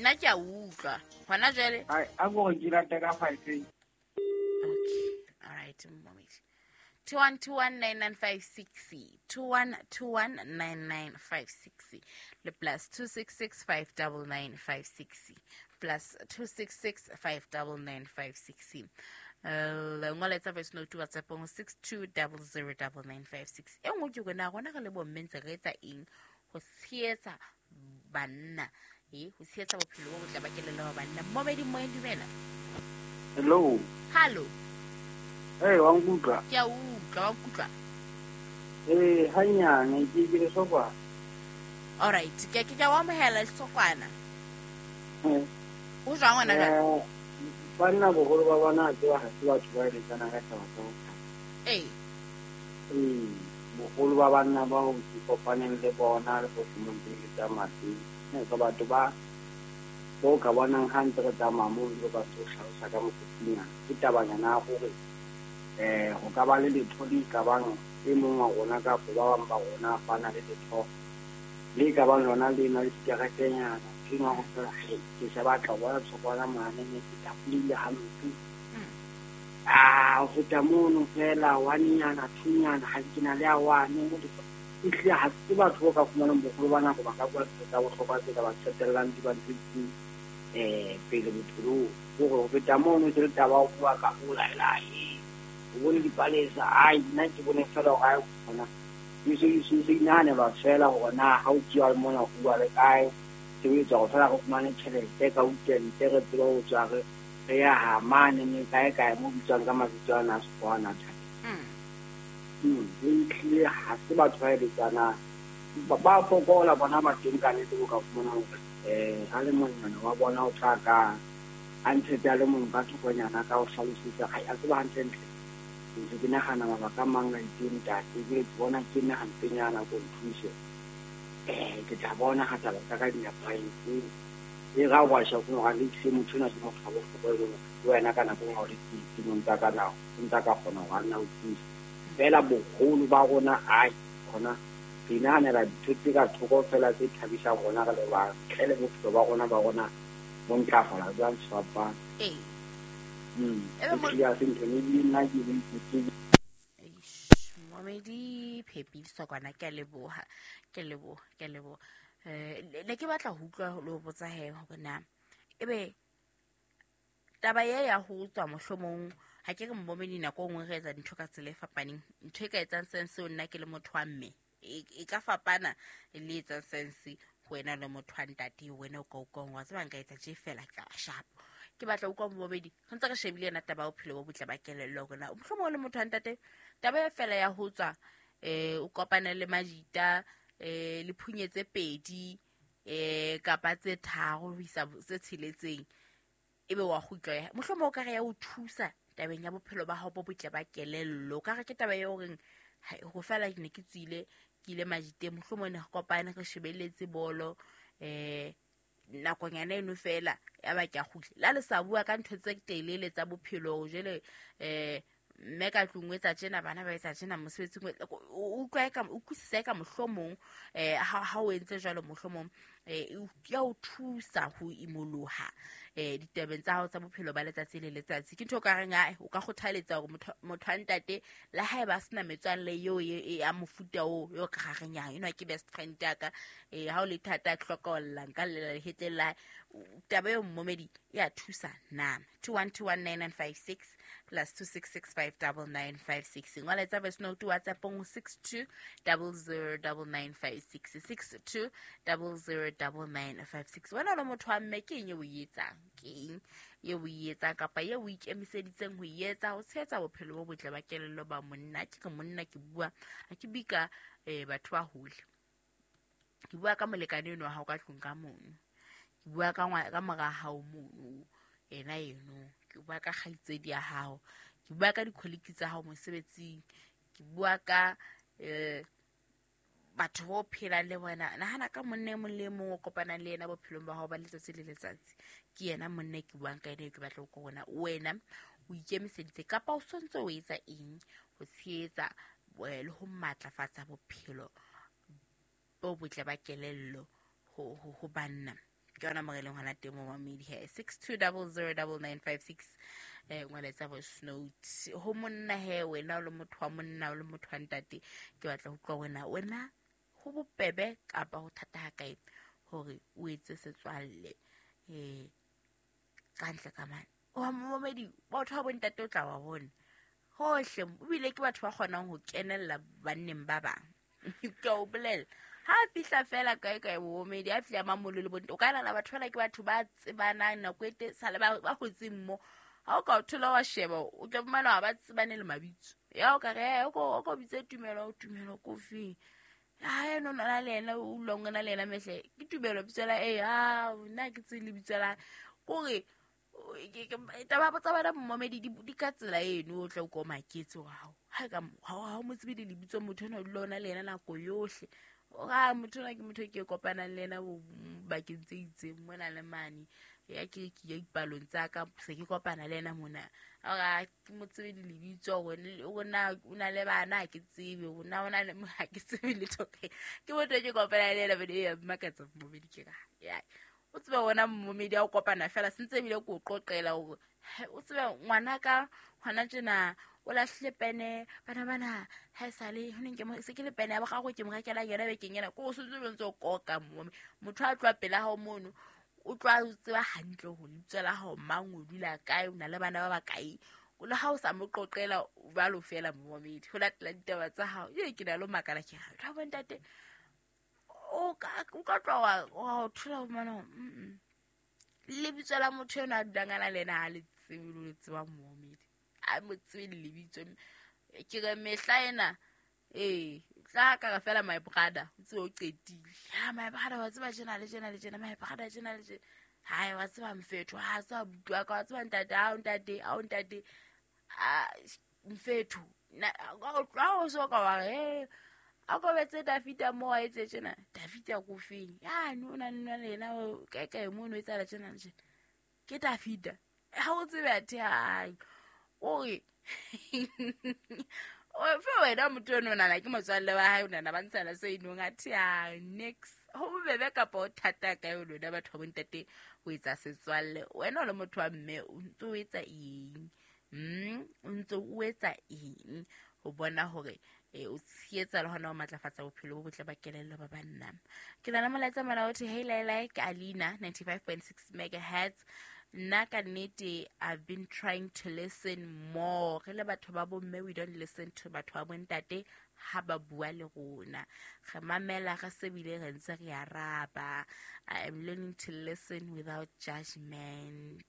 Nna ke a utlwa hona jwale. Ai, a ko re ke late ka 5. Okay, all right, momedi. 21219956, 21219956 le +266 59956, +266 59956. Ngola etsa voice note WhatsAppong 62009956. E nngwe ke rona, rona re le bomme ntse re etsa eng ho tshehetsa banna, e ho tshehetsa bophelo bo botle ba kelello ba banna? Momedi moeng, dumela. Hello. Hallo. Hey, wa nkutlwa? Ke a utlwa, wa nkutlwa? Eh, hanyane ke le sokwana. Alright, ke a o amohela, lesokwana. O jwang wena jwale? Banna boholo ba bona a tseba ha se batho ba eletsana ka taba tsa bophelo. Ee, boholo ba banna bao ke kopaneng le bona le bohle mo ntse ke tsamaya teng. Ka batho ba bo ka bonang ha ntse re tsamaya moo le ba ntse o hlalosa ka mokgotsinyana. Ke tabanyana ya hore ho ka ba le letho le ka bang e mong wa rona kapa ba bang ba rona ba na le letho le ka bang lona le na le dikeretenyana. Ke nwa ho fela, he, ke se batla ho bona tshokwana mane, ne ke tafolile hampe. Ah, ho feta mono fela, one-nyana, two-nyana, ha ke na le a one. Ehlile ha se batho bo ka fumanang boholo ba nako ba ka bua ntho tsa bohlokwa tse ka ba qetellang di ba ntho itseng pele bophelong. Hore ho feta mono se le taba ya ho bua ka ho laela, o bone dipalesa, ai, nna ke bone fela hore ha kgona. E se inahanelwa fela hore na ha o tsuwa mona ho bua le kae, sebetsa hore fela re fumane tjhelete ka weekend, re tsebe ho tswa re ya ha mane ne kae kae mo bitswang ka mabitso ana a Sekgowa ana a thata. Ehlile ha se batho ba eletsanang. Ba fokola bona ba teng ka nnete bo ka fumana hore a le monyane wa bona o tla ka a ntshetse a le mong ka thokonyana ka ho hlalosetsa, ai, a tseba hantlentle. Ntse ke nahana mabaka a mang a itseng ntate, ke bona ke nna hampenyana ko nthuse. Ke tla bona ha taba tsa ka di nepahetse. E ra wa sha go ga le se motho na ke motho wa bohlokwa e leng hore le wena ka nako e nngwe ha o le tsietsing, o ntsa ka nao, o ntsa ka kgona hore a nna o thuse. Fela boholo ba rona, ai, kgona re inahanela dintho tse ka thoko fela tse thabisang rona re le bang, ntle le bophelo ba rona bo ntlafala jwang sefapano. Ebe Ehlile ha se ntho e ebile nna ke le ke Eish, momedi Phepi Sokwana, ke a leboha, ke a leboha, ke a leboha. Ne ke batla ho utlwa le ho botsa he hore na ebe taba e ya ho tswa mohlomong, ha ke re momedi nako e nngwe re etsa dintho ka tsela e fapaneng, ntho e ka etsang sense ho nna ke le motho wa mme e ka fapana le etsang sense ho wena le motho wa ntate. Wena o ka utlwang wa tseba nka etsa tje fela ka sharp. Ke batla ho utlwa momedi, re ntse re shebile yona taba ya bophelo bo botle ba kelello, hore na mohlomong o le motho wa ntate, taba e fela ya ho tswa o kopane le majita, le phunye tse pedi kapa tse tharo ho isa tse tsheletseng, ebe wa kgutla ya mohlomong o ka re ya o thusa tabeng ya bophelo ba hao bo botle ba kelello. O ka re ke taba e horeng ho fela ke ne ke tswile ke ile majiteng, mohlomong ne re kopane re shebelletse bolo nakonyana eno fela, ya ba ke a kgutla. Le ha le sa bua ka ntho tse telele tsa bophelo, jwale mme ka tlung o etsa tjena, bana ba etsa tjena, mosebetsing o etsa, o utlwa eka, o utlwisisa eka mohlomong ha o entse jwalo, mohlomong ya o thusa ho imoloha ditabeng tsa hao tsa bophelo ba letsatsi le letsatsi. Ke ntho o ka reng, ai, o ka kgothaletsa hore motho wa ntate le ha eba a sena metswalle eo e ya mofuta oo, eo ka reng ya enwa ke best friend ya ka, ha o le thata a hlokolla, nka llela lehetleng la hae. Taba eo momedi e a thusa na? 21219956 +266 59956. Ngola etsa voice note WhatsApp-ong 62009956, 62009956. Wena o le motho wa mme, ke eng e o e etsang? Ke eng e o e etsang kapa e o ikemiseditseng ho e etsa ho tshehetsa bophelo bo botle ba kelello ba monna? Ke re monna, ke bua, ha ke bue ka batho ba hole, ke bua ka molekane eno wa hao ka tlung ka mono, ke bua ka mora hao mono, ena eno, ke bua ka kgaitsedi ya hao, ke bua ka di-colleague tsa hao mosebetsing, ke bua ka batho bo phelang le bona. Nahana ka monna e mong le e mong o kopanang le yena bophelong ba hao ba letsatsi le letsatsi. Ke yena monna e ke buang ka ena, e ke batla ho bona wena o ikemiseditse kapa o sontse o etsa eng ho tshehetsa le ho matlafatsa bophelo bo botle ba kelello ho banna. Ke yona mo re leng hona teng mo mamedi he. 62009956 ngwaletsa voice note. Ho monna he, wena o le motho wa monna, o le motho wa ntate, ke batla ho utlwa wena, wena ho bobebe kapa ho thata ha kae hore o etse setswalle ka ntle ka mane. Wa momedi, batho ba bontate o tla wa bona hohle, ebile ke batho ba kgonang ho kenella banneng ba bang. Ke o bolela, ha fihla fela kae kae momedi, ha fihla mamolo le bontate, o ka nahana batho bana ke batho ba tsebanang nako e te sale ba hotseng mo. Ha o ka o thola wa sheba, o tla fumana ha ba tsebane le mabitso. Ya o ka re, o ko bitse Tumelo, Tumelo ko feng? Ha eno na le yena, o utlwang o na le yena mehle. Ke Tumelo bitso la, ha nna ke tsebe lebitso la. Kore taba tsa bana momedi di ka tsela eno, o tla o ko maketse wa hao. Ha ka ha o mo tsebe le lebitso motho ena o dula o na le yena nako yohle. O ra motho ona ke motho ke kopanang le yena bakeng tse itseng mona le mane. Ya ke ya dipalong tsa ka, se ke kopana le yena mona. Ora ke mo tsebe le lebitso, hore o na o na le bana ha ke tsebe, o na o na le ha ke tsebe letho. Ke motho ke kopana le yena bene ya mmakatsa momedi ke ra. Ya o tsebe wona momedi a o kopana fela sentse ebile ke o qoqela hore o tsebe ngwana ka hona tjena o lahlile pene, bana bana ha e sale ho neng ke mo se ke le pene ya boraro ke mo rekela yona bekeng ena, ko o sentse o ntse o koka mo motho a tloha pela hao mono, o tloha o tseba hantle hore lebitso la hao mang, o dula kae, o na le bana ba bakae, le ha o sa mo qoqela jwalo fela momedi ho latela ditaba tsa hao. Ye ke na le makala ke re ha bontate o ka tloha wa thola ho mana lebitso la motho ena a dulang a na le yena ha le tsebe le tseba momedi, a mo tsebe lebitso. Ke re mehla ena tla ka re fela my brother, o tsebe o qetile. Ha my brother wa tseba tjena le tjena le tjena, my brother tjena le tjena. Hai wa tseba mfetho, ha tseba buti wa ka, wa tseba ntate, ha o ntate, ha o ntate, a mfetho. Na ha o so ka wa re a ko betse Dafita mo a etse tjena, Dafita ko feng? Ya no na nna le yena kae kae mo no etsahala tjena le tjena. Ke Dafita. Ha o tsebe athe hai. O re o fe wena motho eno nana ke motswalle wa hae, o nana ba ntshana se inong athe a next. Ho bobebe kapa o thata kae o lona batho ba bontate ho etsa setswalle? Wena o le motho wa mme o ntse o etsa eng? O ntse o etsa eng ho bona hore o tshehetsa le hona ho matlafatsa bophelo bo botle ba kelello ba banna? Ke na le molaetsa mona o thwe, hey Laila, ke Alina 95.6 megahertz. Nna ka nnete I've been trying to listen more. Re le batho ba bomme, we don't listen to batho ba bontate ha ba bua le rona. Re mamela re sebile re ntse re araba. I am learning to listen without judgment.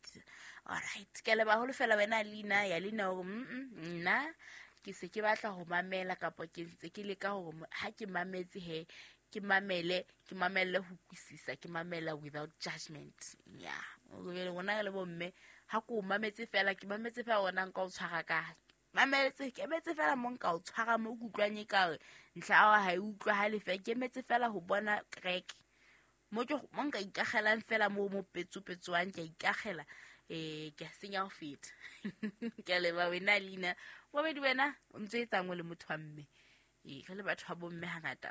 All right, ke leba haholo fela wena Alina, ya Lina hore nna ke se ke batla ho mamela kapa ke ntse ke leka hore ha ke mametse he ke mamele, ke mamelle ho utlwisisa, ke mamela without judgment. Yeah, rona re le bomme ha ko mametse fela, ke mametse fela hore na nka o tshwara kae. Mametse, ke emetse fela mo nka o tshwara mo ke utlwang e ka re ntlha ya ha e utlwahale fela, ke emetse fela ho bona kereke. Mo ke mo nka ikagelang fela mo mo petsopetswang, ke a ikagela, ke a senya ho feta. Ke a leboha wena Lina. Bobedi wena o ntse etsang o le motho wa mme? Re le batho ba bomme hangata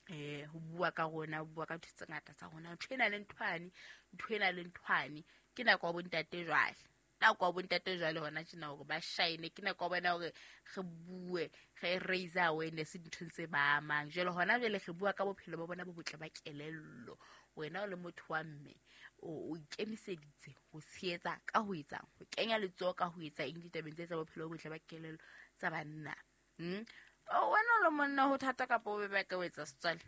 ho bua ka rona, ho bua ka ntho tse ngata tsa rona, ntho ena le nthwane, ntho ena le nthwane. Ke nako ya bontate jwale, nako ya bontate jwale hona tjena hore ba shine, ke nako ya bona hore re bue, re raise awareness dinthong tse ba amang. Jwale hona jwale re bua ka bophelo ba bona bo botle ba kelello. Wena o le motho wa mme, o ikemiseditse ho tshehetsa ka ho etsang, ho kenya letsoho ka ho etsa eng ditabeng tse tsa bophelo bo botle ba kelello tsa banna? Wena o le monna ho thata kapa o bebe ka ho etsa setswalle?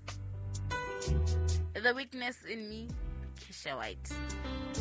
The Weakness in Me, Keisha White.